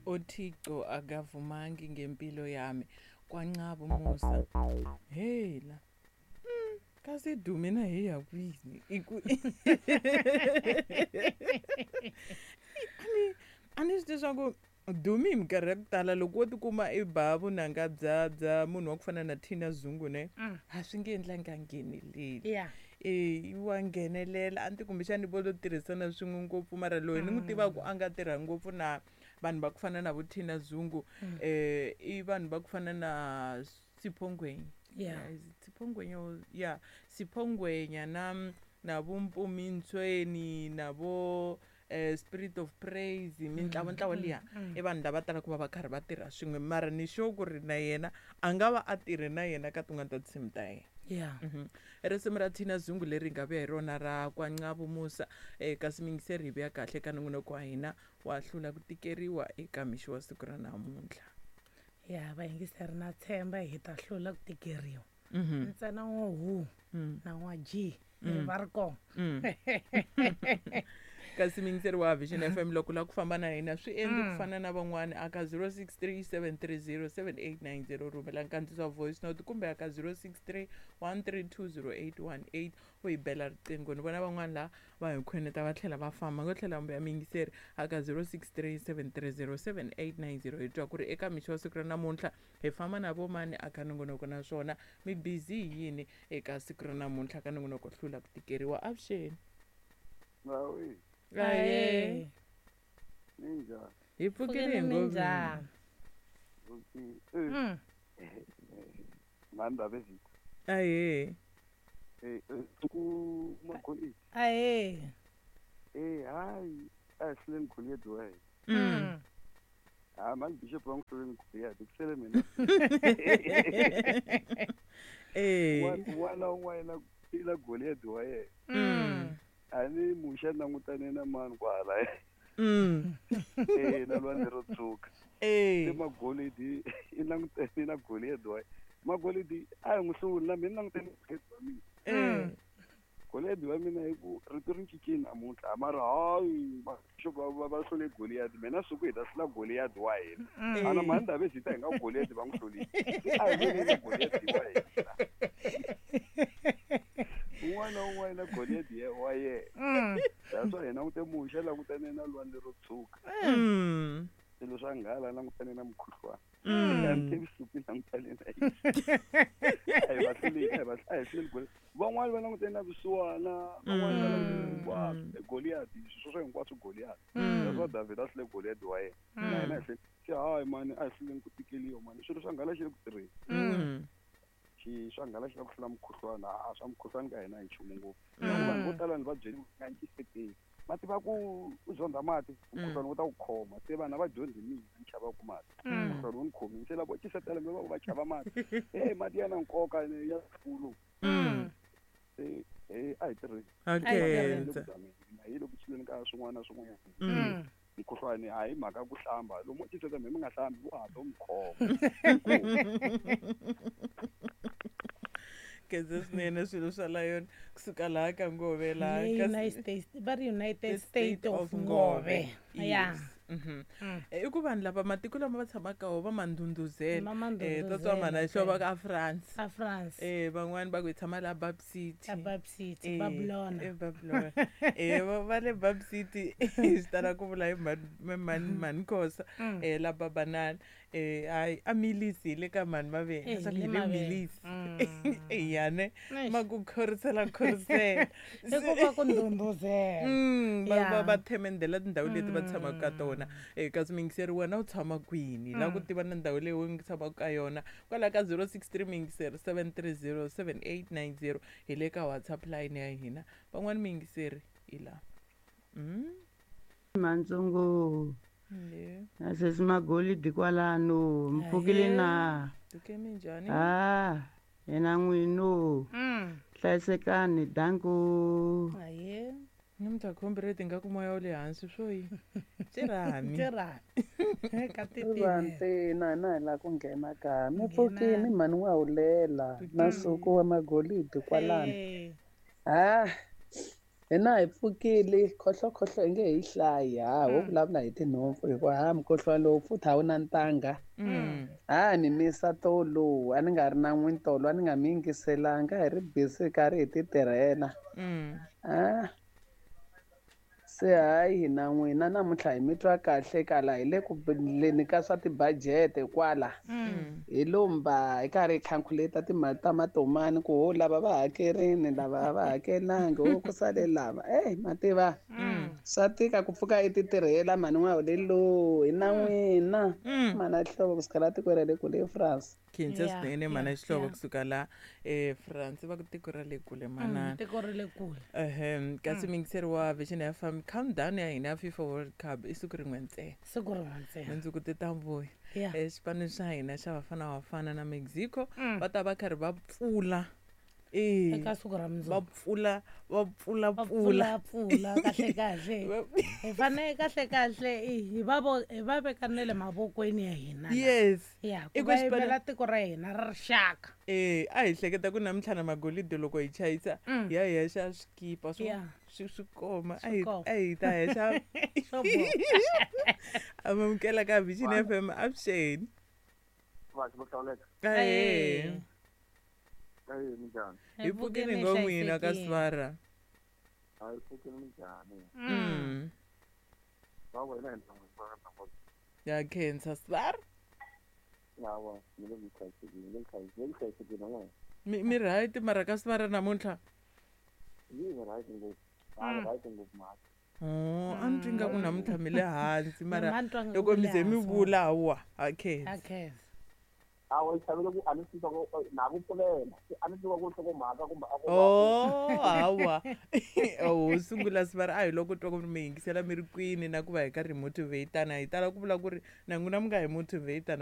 Othixo akavumangi ngempilo yami kwancaba umusa hela. Kasi Dumi na hi ya kwini i ku a ni swi tivi swa ku Dumi hi minkarhi ya ku tala loko wo tikuma i ba vunanga bya munhu wa ku fana na Tina Zungu ne a swi nge endlangi a ngheneleli. E wa nghenelela a ni ti kumbexani vo lo tirhisana swin'we ngopfu mara loyi ni n'wi tivaka a nga tirha ngopfu na vanhu va ku fana na vo Tina Zungu i vanhu va ku fana na Sipho Ngwenya. Is it Sipho Ngwenya or yeah Sipho Ngwenya na vo Mpumi Ntsweni na vo Spirit of Praise mintlawa ntlawa liya i vanhu lava talaka ku va va karhi va tirha swin'we mara ni sure ku ri na yena a nga va a tirhe na yena ka tin'wana ta tinsimu ta yena. Risimu ra Tina Zungu leri hi nga vuya hi rona ra Kwancavu Musa kasi miyingiseri hi vuya kahle ka nongonoko wa hina wa hlula ku tikeriwa eka mixo wa siku ra namuntlha. Ya vayingiseri na tshemba hi ta hlula ku tikeriwa. Ntsena n'wa hu na n'wa G va ri kona. Kasi miyingiseri wa Vision FM loko la ku famba na hina swi endli ku fana na van'wani aka 0637307890 rhumela nkandziso wa voice note kumbe aka 0631320818 u hi bela riqingho. Ni vona van'wani la va hi khweneta va tlhela va famba ngo tlhela mbuya miyingiseri aka 0637307890 hi twa ku ri eka mixo wa siku ra namuntlha hi famba na vo mani aka nongonoko naswona mi busy hi yini eka siku ra namuntlha ka nongonoko hlula ku tikeriwa. Avuxeni. Aye. Minjhani? Hi pfukile hi minjhani? Mani Ndabezitha. Aye. Ku Magolidi. Aye. Hayi, a hi hluleni Goliath wa hina. Ha mani Bishop va n'wi hluleni Goliath, ku sele mina. Un'wana na un'wana i na Goliath wa yena. A ni Muxe a langutane na mani kwala. Na lwandle ro tshuka. Se Magolidi i langutane na Goliath wa yena. Magolidi a hi n'wi hluli na mina ni langutane na Goliath wa mina. Goliath wa mina hi ku rito ri cincile namuntlha mara hayi va va hlule Goliath mina siku hi ta hlula Goliath wa hina. Ana mani Ndabezitha hi nga Goliath va n'wi hlulile. A hi lweni na Goliath wa hina. Un'wana na un'wana na Goliath wa yena. That's why hi langute Muxe a langutane na lwandle ro tshuka. Swilo swa nghala a langutane na mukhuhlwana. A ni tivi suku langutane na yini. A hi va hluleli, a hi va a hi hluleli Goliath. Van'wani va langutane na vusiwana, van'wani va langutane hinkwaswo Goliath, sweswo hinkwaswo Goliath. That's why David a hlule Goliath wa yena. Na hina hi hlule. Se hayi mani a hi hluleni ku tikeliwa mani. Swilo swa nghala xi le ku tirheni. Xi swa nghala xi la ku hlula mukhuhlwana, a swa mukhuhlwana ka hina hi nchumu ngopfu. Loko vanhu vo tala ni va byeli nga ncisekeli. Va tiva ku u zonda mati, mukhuhlwana wu ta ku khoma. Se vanhu a va dyondzi mina ni chavaku mati. Mukhuhlwana wu ni khomile. Se loko cisetela mi va va chava mati. Mati ya na nkoka ya kulu. Se a hi tirheni. Okay. Hi le ku hluleni ka swin'wana na swin'wanyana. Mukhuhlwani a hi mhaka ku hlamba. Lomu ciseta mi nga hlambi wu hatla wu mi khoma. Khensa swinene swilo swa la yona kusuka laha ka Ngove laha Le United States, va ri United State of Ngove. Ya. I ku vanhu lava matiko lama va tshamaka wona va ma ndhundhuzela. Va ma ndhundhuzela, Tatwa mhana xo va ka France. A France. Van'wani va ku hi tshama laha Bab City. A Bab City, Babylon. Babylon. Va le Bab City, swi tala ku vula hi mhani Khosa. La Babanana. Hayi, a Milisi hi le ka mhani Mavele. Leswaku hi Le le Mavele. Milisi. Ya ne? Eish. Ma ku khorisela, khorisela. I ku va ku ndhundhuzela. Va themendela tindhawu leti va tshamaka ka tona. Kasi miyingiseri wena u tshama kwini? La ku tiva na ndhawu leyi u tshamaka ka yona. Kwala ka 063 miyingiseri 7307890 hi le ka WhatsApp line ya hina. Van'wani miyingiseri hi la. Mantsongo. Na sesi Magolidi kwalano, mi pfukile na? Pfuke minjhani? Hina n'wino. Hlayisekani, danko. Aye. Ni mi ta khombi nga ku moya wu le hansi swo yi. Tirhami. Tirhami. Ka titini. Vantina na hi la ku nghena ka. Mi Nghena. pfukini mhani wa hulela na nsuku wa Magolidi kwalano. Hina hi pfukile khohlokhohlo i nge hi hlayi ha ho vulavula hi tinhompfu hikuva ha mukhuhlwani lowu futhi a wu na ntangha. Ha ni misa tolo a ni nga ri na n'wini tolo a ni nga mi yingiselanga hi ri busy karhi hi ti tirhela. A se hayi hina n'wina namuntlha hi mi twa kahle kala hi le ku leni ka swa tibajete kwala. Hi lomba hi karhi hi calculate timali ta matomani ku ho lava va hakerini lava a va hakelangi ho ku sale lava. Ey ma tiva swa tika ku pfuka i ti tirhela mhani n'wahulelo hi na n'wina. Mana Xihlovo kusuka la tikweni ra le kule eFrance. Khensa swinene mana Xihlovo kusuka la eFrance va ku tiko ra le kule manana. Tiko ra le kule. Ehem kasi miyingiseri wa Vision FM countdown ya hina ya FIFA World Cup i siku rin'we ntsena. Siku rin'we ntsena. Mundzuku ti ta vuya. Xipano xa hina xa Bafana Bafana na Mexico va ta va karhi va pfula. Eka siku ra mundzuku. Va pfula, va pfula, Va pfula. pfula, pfula, kahle, kahle. Hi fanele kahle, kahle, hi va vo, hi va veka na le mavokweni ya hina la. Yes. Ya, I ku ku va xipano yimela tiko ra hina ra rixaka. A hi hleketa ku namuntlha na magolide loko hi chayisa, hi ya hi ya xava swikipa swo swi koma. A Swi koma. hi ta ya xava. Swo boha. Amukela ka Vision FM, avuxeni. Vaxi vo hlawuleka. Ahee. Ahee, minjhani? Hi pfukile ngo n'wina ka Svara. Hi pfukile minjhani? Va wena hi ntangu va ntangu. Ya khensa Svara. Yawa, ni le hlayisekile, ni le hlayisekile, ni le hlayisekile n'wina. Mi right mara ka Svara namuntlha? Ni right ngopfu. A ni right ngopfu mhaka. Oh, a ni twi nga ku namuntlha mi le hansi mara Mina ni twa nga loko ku mi le ze mi hansi. vula hawa, ha khensa. Ha khensa. Awa, yi chavile ku a ni swi tiva ku na ku pfulela. A ni tiva ku nhlokomhaka kumbe a ku va Oh, hawa. Oh, sungula Svara a hi loko twa ku mi yingisela mi ri kwini na ku va hi karhi hi motivate-ana. Hi tala ku vula ku ri na n'wina mi nga hi motivate-ana.